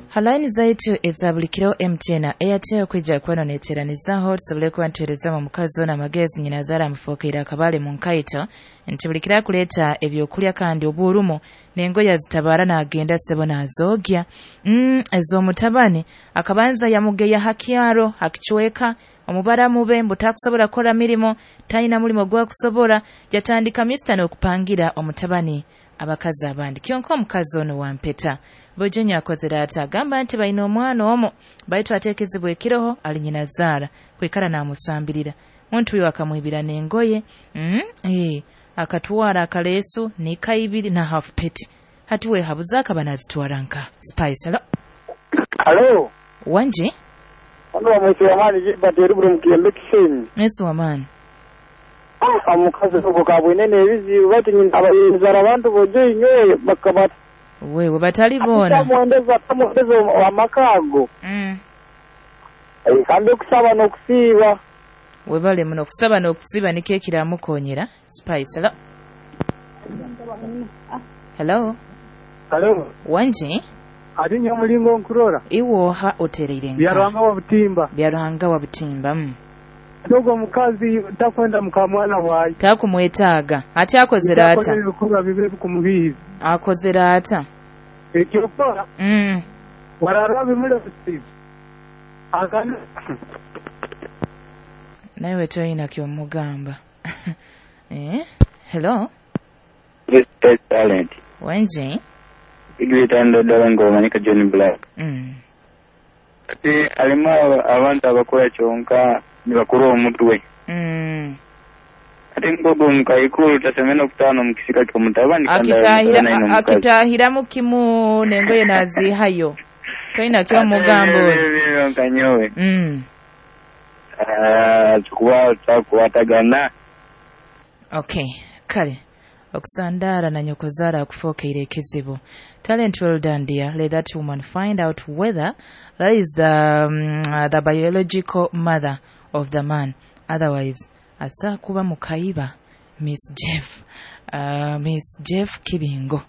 Halaini zaitu eza buli kiro MTN na Airtel kwija kuba neteranizaho tusobole kuba ntuheerezamu omukazi ono amagezi nyina azaara amufuukiire akabaale mu nkaito nti buli kiro akuleeta ebyokulya kandi obuurumu n'engoye azitabaara n'agenda ssebo n'azoogya ez'omutabani akabanza yamugeya ha kyaro akicweka omubaramu be mbu takusobola kukora mirimo talina mulimo gwakusobora yatandika misita n'okupangira omutabani abakazi abandi kyonka omukazi ono wampeta Bojenya akozere ata agamba nti balina omwana omu baitu ateekezebwa ekiroho ali nyina zaara kwikara n'amusambirira muntu uyo akamwibira n'engoye akatwara akaleesu n'ekaibiri na half peti hati weehabuza akaba nazitwara nka Spice. Hello. Hello. Wanji Ono wamwise wamaani Gilbert eruburo mukiyembe Kisenyi. Yesu wamaani. Omukazi ogwo kabwine n'ebizibu baitu nyina abayinzara abantu bojo inywe bakaba wewe batali bona tamuendeza amaka ago. Kandi okusaba n'okusiiba webale muno okusaba n'okusiiba nikyo ekiramukonyera. Spice. Hello. Hello. Hello. Wanji ati nyo mulingo nkurora iwoha otereire nka Byaruhanga wa Butimba. Byaruhanga wa Butimba. Dogo mukazi takwenda mukamwana wayi takumwetaaga ati akozera ata ebikorwa bibe bikumubihiza akozera ata ekyokora warara bimule agana nawe toyina kyomugamba. Hello. This talent. Wenji igwitando ddala ng'omanyika John Black. Ati alimu abantu abakora kyonka nibakura omutwe. Ate ngogo omukaikuru tasemena okutaano mu kisika ky'omutabani akitahiramu kimu n'engoye n'aziihayo toyina kyomugamba oyo nkanyowe kuba takukwatagana. Okay, kale okusandaara na nyokozaara akufuukeire ekizibu. Talent, well done dear. Let that woman find out whether that is the biological mother of the man. Otherwise asa kuba mukaiba. Miss Jeff. Miss Jeff Kibingo.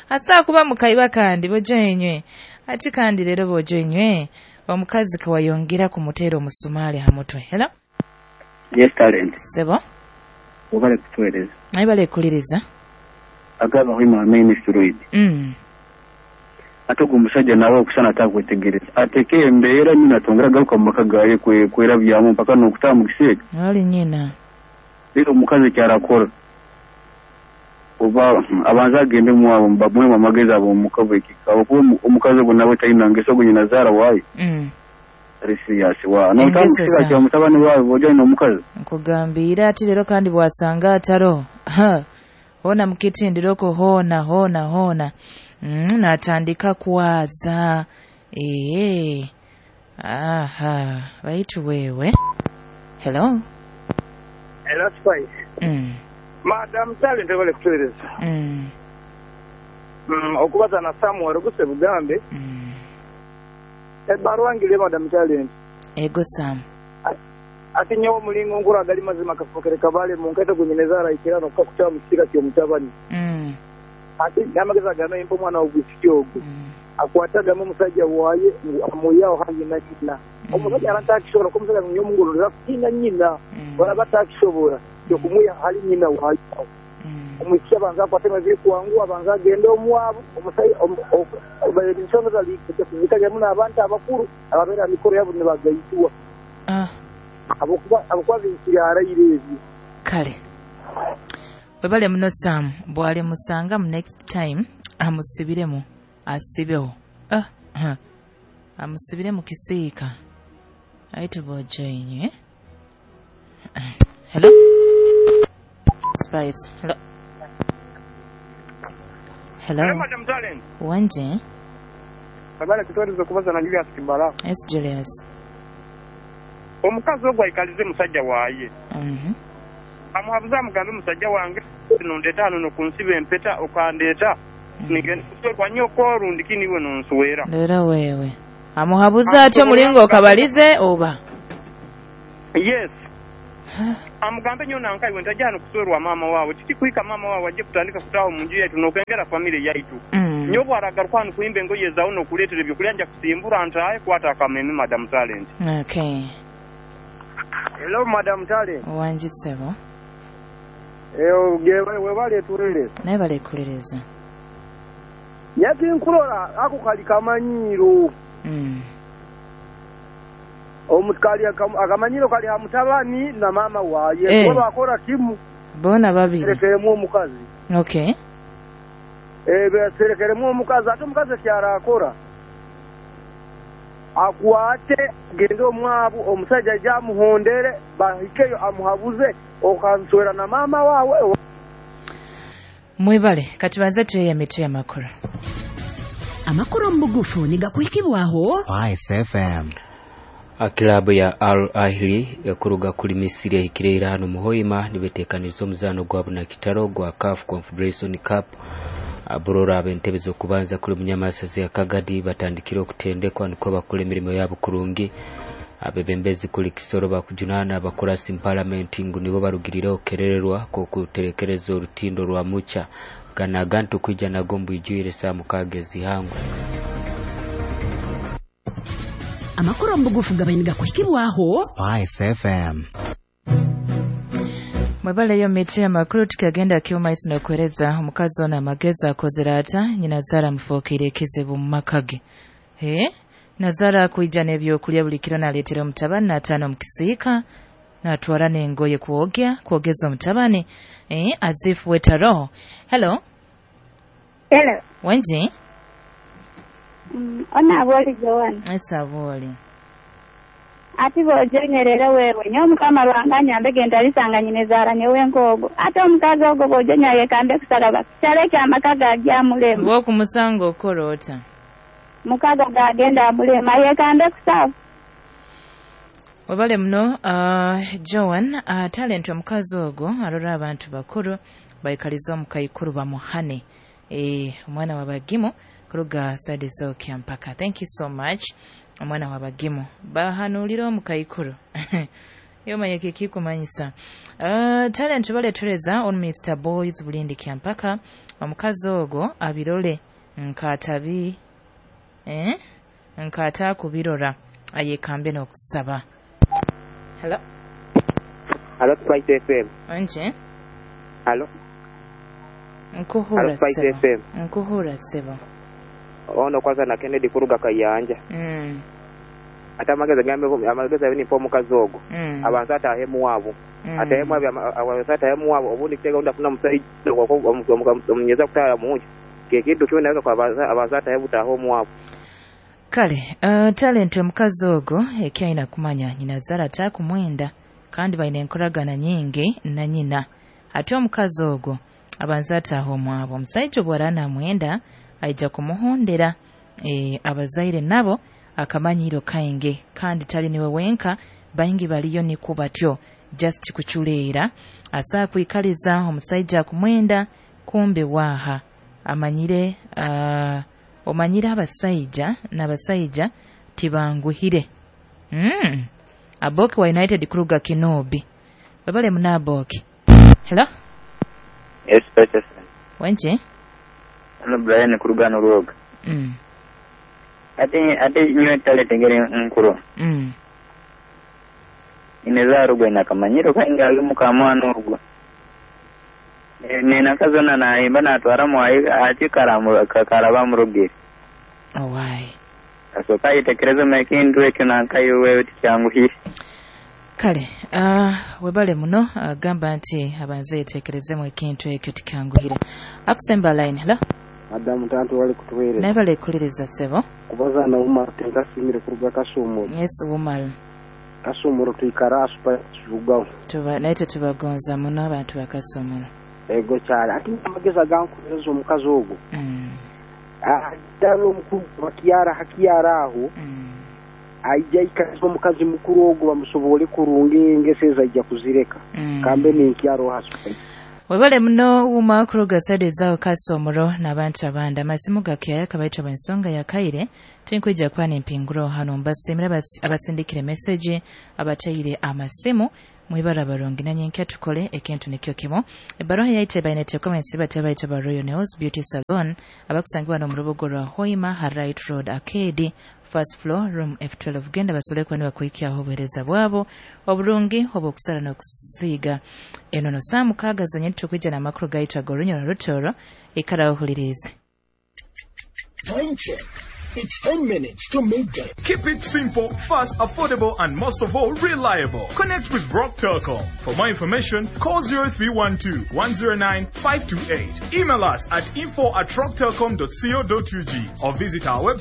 Asa kuba mukaiba kandi bojenywe. Ati kandi leero bojenywe omukazi kawayongera kumuteera omusumaali ha mutwe. Hello. Yes talent. Sebo. Obale kutuweereza. Naye balekuliriza. Agaba huima main steroid. Ate ogwo omusajja nawe okusana atakwetegereza ateeke embeera nyina atongera agaruka mu maka gaye kwerabyamu mpaka n'okutaaha mu kiseega. Ali nyina. Leero omukazi kyarakora oba abanza agende muwabo bamuwemu amagezi abo omuka bwekika okuba omukazi ogwo nawe talina ngeso ogwo nyina zaara waayo. Ari serious wa n'otaaha mu kiseega kya mutabani waawe bw'ojja alina omukazi. Nkugambiire ati leero kandi bw'asanga ataro hona mukitindiroko hona hona hona natandika kwaza aha baitu wewe. Hello. Hello Spice. Madam Talent wale kutueleza. Okubaza na Samuel Ruguse Bugambe. Ebbaluwa ngire Madam Talent. Ego Sam. Ati nyowe mulingo nkura agali mazima kafukere kabale mu nkaito gunyinezara ikirano kakutya mu kisika ky'omutabani. Ati n'amagezi agame impa omwana w'obwisiki ogwo akwatagamu omusajja waaye amuyawo hangi na nyina. Omusajja ara ntakishobora ko omusajja nyo omungororera kutina nyina baraba atakishobora yokumuya hali nyina waaye. Omwisiki abanza akwate amaziri kuwangu abanza agende omwabo omusajja ensonga zikajyamu n'abantu abakuru ababeera mikoro yabo nibagayitwa. Abakuba binkiri arayire ebyo. Kale webale muno Sam bwali musanga mu next time amusibiremu asibeho amusibire mu kisiika aitu bojoinywe. Hello Spice. Hello. Hello. Hello Madam Talent. Wanje Babale kutuweza kubaza na Julius Kibala. Yes Julius. Omukazi ogwo aikalize musajja waaye. Amuhabuza amugambe musajja wange nondeeta hano nokunsiba empeta okandeeta nigenda kuswerwa nyoko rundi kini iwe nonswera. Leero wewe amuhabuza atyo mulingo okabalize oba? Yes. Amugambe nyo nanka iwe ntajja hano kuswerwa maama waawe tikikwika maama waawe ajje kutandika kutaawo mu nju yaitu n'okwengera famire yaitu. Nyowe aragaruka hano kuhimba engoye zawe n'okuleetera ebyokulya nja kusimbura ntaahe kwata akameme Madam Talent. Okay. Hello Madam Talent. Wangi ssebo. Webale tuweereza. Naye balekulereza. Nyati nkulora ako kali kamanyiiro. Omukali akamanyiro kali ha mutabani na mama waye. Kuba bakora kimu. Bona babiri. Serekeremu omukazi. Okay. Serekeremu omukazi ate omukazi ekyarakora. Akwate gende omwabu omusajja ajamuhondere bahikeyo amuhabuze okanswera na mama wawe. Mwebale katubanze tuye emitwe y'amakuru. Amakuru mu bugufu nigakuhikibwaho Spice FM. Klabu ya Al Ahly ekuruga kuli Misiri ehikire hano muhoima nibeteekaniza omuzaano gwabo na kitaro gwa CAF Confederation Cup. Aburora ab'entebe z'okubanza kuli munyamasazi ya Kagadi batandikire okutendekwa niko bakora emirimo yabo kurungi. Abebembezi kuli Kisoro bakujunana abakurasi parliament ngu nibo barugirire okerererwa kokuterekereza orutindo rwa mucha ganagantu kwija nagombu ijuire saa mukaaga ezihangwe. Amakuru mu bugufu gabainiga kuhikibwaho Spice FM. Mwebale yo mitwe y'amakuru tukagenda kiuma n'okuhereza omukazi ono amagezi akozera ata nyina zara mufuukire ekizibu mu maka ge. Nazara akuija n'ebyokulya buli kiro n'aleetera omutabani n'ataano mu kisiika n'atwala n'engoye kwogeza omutabani azifu wetaro. Hello. Hello. Wenji? Ona aboli Joan. Esa aboli. Ati bojonyerera wewe nyo mukama lwanganya mbegenda alisanga nyine zara nyewe nkogo ate omukazi ogwo bojonya yekambe kusaba kyale kya makaga ajamulema wo kumusango okorota mukaga gagenda amulema yekambe kusaba. Webale muno Joan. Talent omukazi ogwo arora abantu bakuru baikaliza omukaikuru bamuhane omwana wabagimo kuruga side zo mpaka. Thank you so much. Omwana wabagimo bahanulira omukaikuru yomanye kikumanyisa. Talent baletereza on Mr Boys bulindi kyampaka omukazi ogwo abirole nkatabi nkata kubirora ayekambe n'okusaba. Hello. Hello Spice FM. Nje. Hello. Nkuhura sebo. Nkuhura sebo. Ono kwanza na Kennedy kuruga Kayanja. Ate amagezi gambe amagezi abini po mukazi ogwo. Abanza atahemu wabo. Atahemu abanza atahemu wabo obundi kitega unda funa musajja omunyeza kutala munju. Kekintu kyo naweza kwa abanza atahemu tahomu wabo. Kale, talent omukazi ogwo ekyaina kumanya nyina zara takumwenda kandi baine enkoragana nyingi na nyina. Ate omukazi ogwo abanza atahomu wabo. Omusajja obwarana mwenda aija kumuhondera abazaire nabo akamanyiro kainge kandi tali niwe wenka baingi baliyo niko batyo just kuchuleera asa kuikaliza omusajja kumwenda kumbe waha amanyire omanyire abasajja n'abasajja tibanguhire. Aboki wa United kuruga Kinobi. Babale munaboki. Hello. Yes, Pastor. Wenje? Ano Brian kuruga Nuroga. Ate nyowe talent ngere nkuru. Inezarugwe nakamanyiro kainga mukamwana ogwo. Nina kazona naimba natwara mwayi ati karamu karaba murugire. Owai. Asoka itekereza mekindu ekyo nankayo wewe tikyanguhire. Kale, webale muno gamba nti abanze itekerezemu ekintu ekyo tikyanguhire. Akusemba line, hello. Madamu tantu wali kutuweereza. Naye balekuliriza ssebo. Kubaza na Umar tenkasimire kuruga Kasumuro. Yes, Umar. Kasumuro twikara asupa kivugaho. Tuba naye tetubagonza muno abantu bakasumuro. Ego kyali ate amagezi agankuhereza omukazi ogwo. Ddala omukulu bakiyara hakiyara aho. Aija ikaliza omukazi mukuru ogwo bamusobole kurunga engeso ezo aija kuzireka. Kambe ninkyaro hasupa. Webale muno uma kuruga side zao Kasomuro n'abantu abandi amasimu gakya kabaitwa bensonga ya kaire tinkwija kwa nempinguro hano mbasimira abasindikire message abatayire amasimu Mwibara barungi nanyenkya tukole ekintu nikyo kimu. Ebbaruha yaitu ebaine comments bate baitu ba Royal Nails Beauty Salon abakusangibwa n'omu rubuga rwa Hoima ha Right Road Arcade, first floor, room F12. Genda basobole kuba nibakuhikyaho obuheereza bwabo oburungi obw'okusara n'okusiiga enono. Saa 6 zonyini tukwija n'amakuru gaitu ag'orunyoro rutoro. Ikara ohulirize. Time check. It's 10 minutes to midday. Keep it simple, fast, affordable, and most of all, reliable. Connect with Rock Telcom. For more information, call 0312 109 528. Email us at info@rocktelcom.co.ug or visit our website.